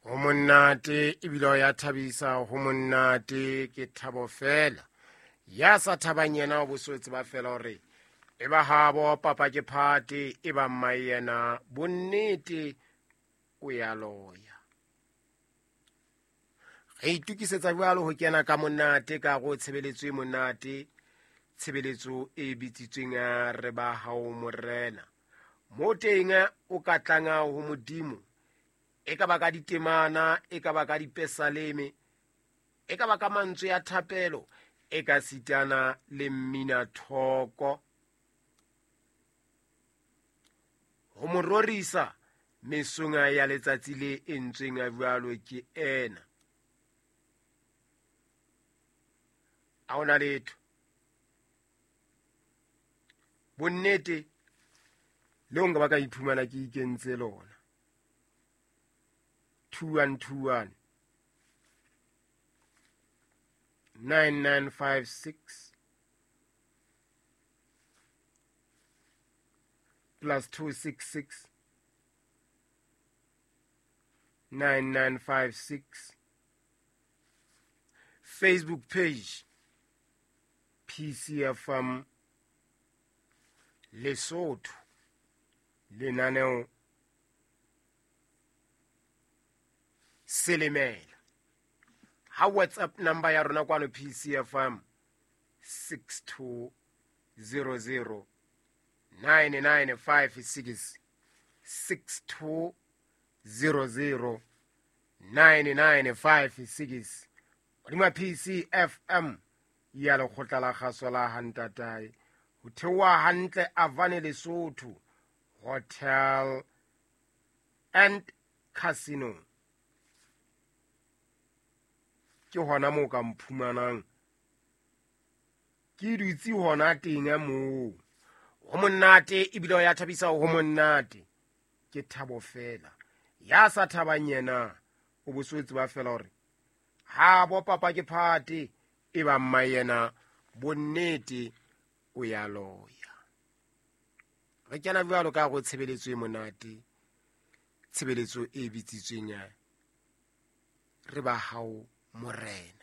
Ho monate ebile o ya thabisa, ho monate ke thabo fela. Ya sa thabang yena o bo tseba fela hore e ba habo papa ke phate, e ba mmae yena bonnete o ya loya. Re itukisetsa jwalo ho kena ka monate ka go tshebeletso e monate, tshebeletso e bitsitsweng ya re ba hao morena. Mo teng o ka tlanga ho Modimo, e ka ba ka ditemana, e ka ba ka dipesaleme, e ka ba ka mantswe ya thapelo, e ka sitana le mmina thoko. Ho mo rorisa mesong ya letsatsi le entsweng jwalo ke ena. Ha hona letho. Bonnete le nka ba ka iphumana ke ikentse lona. 2121 9956 plus 266 9956. Facebook page PCFM Lesotho, lenaneo Selemela. Ha WhatsApp number ya rona kwano PCFM 6200 9956, 6200 9956. Hodima PCFM ya lekgotla la kgaso la Hantatae, ho theoha hantle Avane Lesotho Hotel and Casino. Ke hona moo ka mphumanang ke dutse hona teng moo. Ho monate ebile o ya thabisa, ho monate ke thabo fela. Ya sa thabang yena o bo so tseba fela hore ha bo papa ke phate, e ba mma yena bonnete o ya loya. Re kena jwalo ka go tshebeletso e monate, tshebeletso e bitsitsweng ya re ba hao morena.